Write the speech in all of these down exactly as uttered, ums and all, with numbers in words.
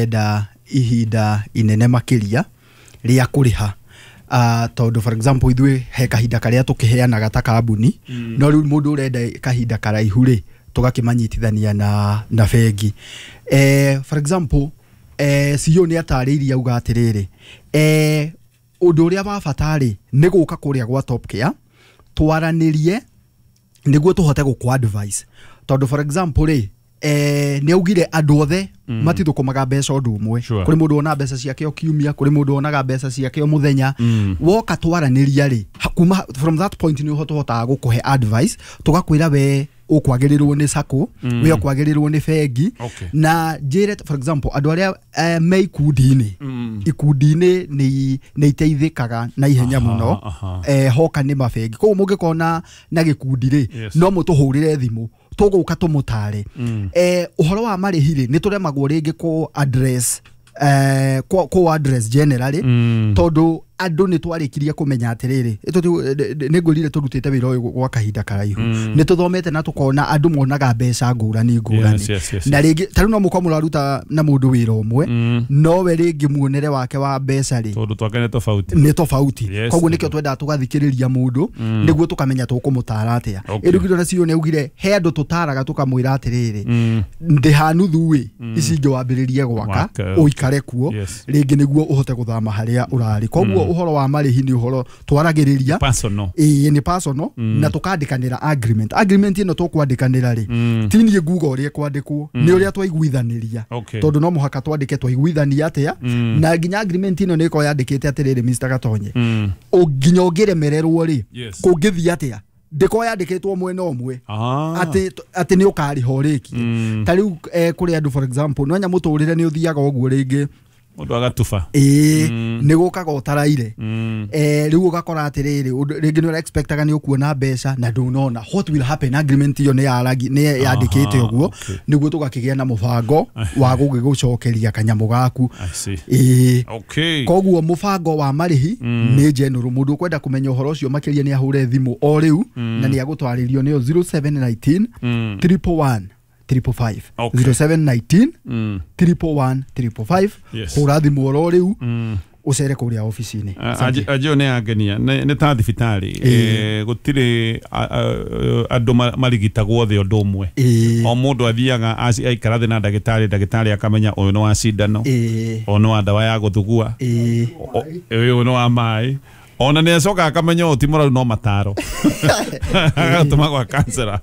Enda ihinda inene makĩria rĩa kũrĩha, uh, tondũ for example ithuĩ he kahinda karĩa tũkĩheanaga ta kambuni, mm. no rĩu mũndũ ũrenda kahinda karaihu rĩ, tũgakĩmanyitithania na, na bengi. eh, for example, eh, C E O nĩ atarĩirie auga atĩrĩrĩ, eh, ũndũ ũrĩa wa bata rĩ, nĩ gũka kũrĩa gwa Top Care twaranĩrie nĩguo tũhote gũkũ advice, tondũ for example rĩ, eh, nĩ augire andũ othe mm. matithũkũmaga mbeca ũndũ ũmwe. Sure. Kũrĩ mũndũ wona mbeca ciake o kiumia, kũrĩ mũndũ wonaga mbeca ciake o mũthenya. mm. Woka twaranĩria rĩ, ha- kuma from that point nĩ tũhotaga gũkũhe advice, tũgakwĩra we ũkwagĩrĩrwo nĩ sacco, mm. we ũkwagĩrĩrwo nĩ bengi. Okay. Na njĩre for example andũ arĩa eh, me ikundi-inĩ, Mm. ikundi-inĩ nĩ nĩ iteithĩkaga na ihenya Aha, mũno aha. eh, hoka nĩ mabengi. Koguo mũngĩkorwo na na gĩkundi rĩ, Yes. no mũtũhũrĩre thimũ, tũgũka tũmũtare. Mm. eh, ũhoro wa marĩhi rĩ, nĩ tũremagwo rĩngĩ kũ address eh, kũ kũ address generally, Mm. tondũ andũ nĩ twarĩkirie kũmenya atĩrĩrĩ, nĩ ngwĩrire tũrutĩte wĩra ũyũ gwa kahinda karaihu, Mm. nĩ tũthomete na tũkona andũ monaga mbeca ngũrani ngũrani. Yes, yes, yes, Na rĩngĩ ta rĩu no mũkorwo mũraruta na mũndũ wĩra ũmwe, Mm. nowe rĩngĩ muonere wake wa mbeca rĩ, tondũ twake nĩ tofauti. Nĩ tofauti. Yes. Koguo nĩkĩo twendaga tũgathikĩrĩria mũndũ nĩguo tũkamenya tũkũmũtara atĩa. Okay. Ĩrugirwo na C E O nĩ augire he andũ tũtaraga tũkamwĩra atĩrĩrĩ, Mm. ndĩha nuthu ĩ, ici ingĩ wambĩrĩrie gwaka, Gwaka. ũikare kuo, Yes. rĩngĩ nĩguo ũhote gũthama harĩa ũrarĩ. Koguo ũhoro wa marĩhi nĩ ũhoro twaragĩrĩria. Personal. Ĩĩ, nĩ personal, na tũkandĩkanĩra agreement. Agreement ĩno tũkwandĩkanĩra rĩ, Mm. ti niĩ nguga ũrĩa ĩkwandĩkwo, nĩ ũrĩa twaiguithanĩria, Okay. tondũ no mũhaka twandĩke twaiguithania atĩa. Mm. Na nginya agreement ĩno nĩ ĩkorwo yandĩkĩte atĩrĩrĩ, Mister Gatonye, Mm. ũ- nginya ũngĩremererwo rĩ, Yes. kũngĩthiĩ atĩa, ndĩkorwo yandĩkĩtwo mwena ũmwe Ah. atĩ atĩ nĩ ũkarĩha ũrĩkie. Mm. Ta rĩu eh, kũrĩ andũ, for example, no nya mũtũrĩre nĩ ũthiaga ũguo rĩngĩ, mũndũ agatuba. Ĩĩ, Mm. nĩ gũkaga ũtaraire. Mm. eh, rĩu ũgakora atĩrĩrĩ, ũndũ- rĩngĩ nĩ ũrexpectaga nĩ ũkuona mbeca na ndũnona. What will happen? Agreement ĩyo nĩ yaragi nĩ yandĩkĩte Aha, ũguo, okay. nĩguo tũgakĩgĩa na mũbango wa gũgĩgũcokeria kanyamũ gaku. I see. Ĩĩ. Okay. Koguo mũbango wa marĩhi nĩ general. Mũndũ ũkwenda kũmenya ũhoro ũcio makĩria nĩ ahũre thimũ o rĩu, na nĩ agũtwarĩrio nĩyo zero seven one nine Mm. triple one triple five. Okay. zero seven one nine Mm. triple one triple five. Yes. Hũra thimũ oro rĩu, Mm. ũcere kũrĩa obici-inĩ. Asante. Anjĩo nĩ angenia, nĩ nĩ ta thibitarĩ. Ĩĩ. Eh, gũtirĩ a- a- andũ ma- marigitagwo othe ũndũ ũmwe. Ĩĩ. O mũndũ athiaga aci- aikara thĩ na ndagĩtarĩ, ndagĩtarĩ akamenya ũyũ nĩ wa cindano, Ĩĩ. ũyũ nĩ wa ndawa ya gũthugua, Ĩĩ. o- ũyũ nĩ wa maĩ, ona nĩ acoka akamenya ũyũ ti mũraru, no mataro agatũma gwa kansera.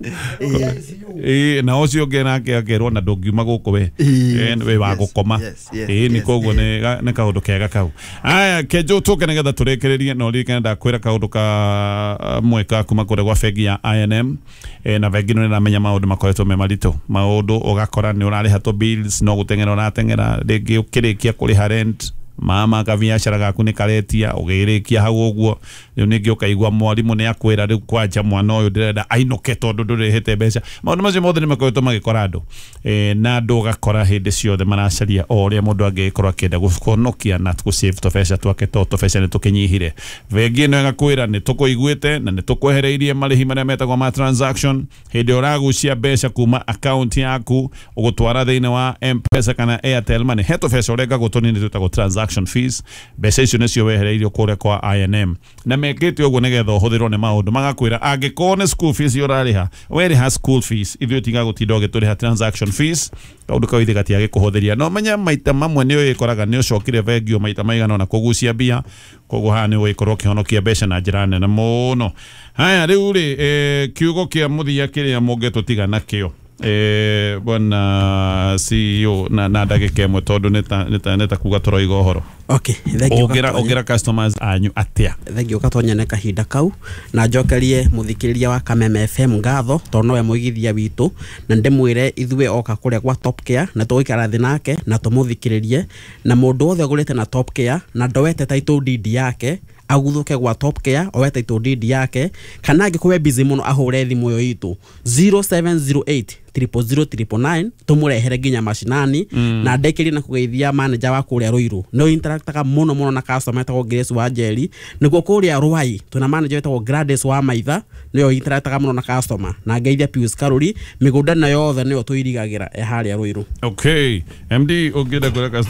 Ĩĩ, na ũcio ũngĩ nake akerwo na ndũngiuma gũkũ we. Ĩĩ. Ĩĩ, wĩ wa Yes, gũkoma. yes, yes, Ĩĩ, nĩ yes, koguo nĩ ga- nĩ kaũndũ kega kau. Aya, kenjo tũke nĩgetha tũrĩkĩrĩrie, na ũririkane ndakwĩra kaũndũ ka mweka kuma kũrĩa gwa bengi ya I and M. Eh, na bengi ĩno nĩramenya maũndũ makoretwo me maritũ, maũndũ ũgakora nĩ ũrarĩha tũ bills, no gũteng'era ũrateng'era, rĩngĩ ũkĩrĩkia kũrĩha rent, mama kabiacara gaku nĩ karetia, ũgĩrĩkia hau ũguo. Rĩu ningĩ ũkaigua mwarimũ nĩ akwĩra rĩu kwanja mwana ũyũ ndĩrenda ainũke tondũ ndũrĩhĩte mbeca. Maũndũ macio mothe nĩ makoretwo magĩkora andũ, e, na andũ ũgakora hĩndĩ ciothe maracaria o ũrĩa mũndũ angĩgĩkorwo akĩenda kũhonokia na gũsave tũbeca twake, to tũbeca nĩ tũkĩnyihire. Bengi ĩno ĩgakwĩra nĩ tũkũiguĩte na nĩ tũkwehereirie marĩhi marĩa metagwo ma transaction hĩndĩ ĩrĩa ũragucia mbeca kuma account yaku ũgũtwara thĩinĩ wa M-Pesa kana Airtel Money. He tũbeca ũrengagwo tũnini twĩtagwo transaction fees. Mbeca icio nĩcio wehereirio kũrĩa kwa I and M, na mekĩte ũguo nĩgetha ũhũthĩrwo nĩ maũndũ. Magakwĩra angĩkorwo nĩ school fees ũrarĩha, werĩha school fees, ithuĩ tiga gũtinda ũgĩtũrĩha transaction fees. Kaũndũ kau ithe gatiagĩkũhũthĩria. No menya maita mamwe nĩ ũgĩkoraga nĩ ũcokire bengi o maita maigana ona kũgucia mbia, koguo haha nĩ ũgĩkorwo ũkĩhonokia mbeca na njĩra nene mũno. Haya, rĩu rĩ, eh, kiugo kĩa mũthia kĩrĩa mũngĩtũtiga nakĩo, eh, bwana C E O, na, na ndagĩka ĩmwe, tondũ nĩ ta- nĩ ta- nĩ ta kuga tũroiga ũhoro. Okay, thank you. Ũngĩra Gatonya. Ũngĩra customers anyu atĩa? Thank you, Gatonya, nĩ kahinda kau, na njokerie mũthikĩrĩria wa Kameme F M ngatho tondũ nowe mũigithia witũ, na ndĩmwĩre ithuĩ oka kũrĩa gwa Top Care na tũgũikara thĩ nake na tũmũthikĩrĩrie. Na mũndũ wothe ũgũrĩte na Top Care na ndoete title deed yake, aguthũke gwa Top Care oe title deed yake, kana angĩkorwo e busy mũno ahũre thimũ ĩyo itũ zero seven zero eight. triple zero triple nine tũmũrehere nginya macinani. mm. Na ndĩkĩrie na kũgeithia manager wa kũrĩa Ruiru, nĩ interactaga mũno mũno na customer, etagwo Grace wa Njeri. Nĩguo kũrĩa Ruai twĩna manager wĩtagwo Gladys wa Maitha, nĩyo interactaga mũno na customer. Na ngeithia Pius Karuri, mĩgũnda ĩno yothe nĩyo tũirigagĩra e harĩa Ruiru. Okay, M D, ũngĩenda kwĩra customer.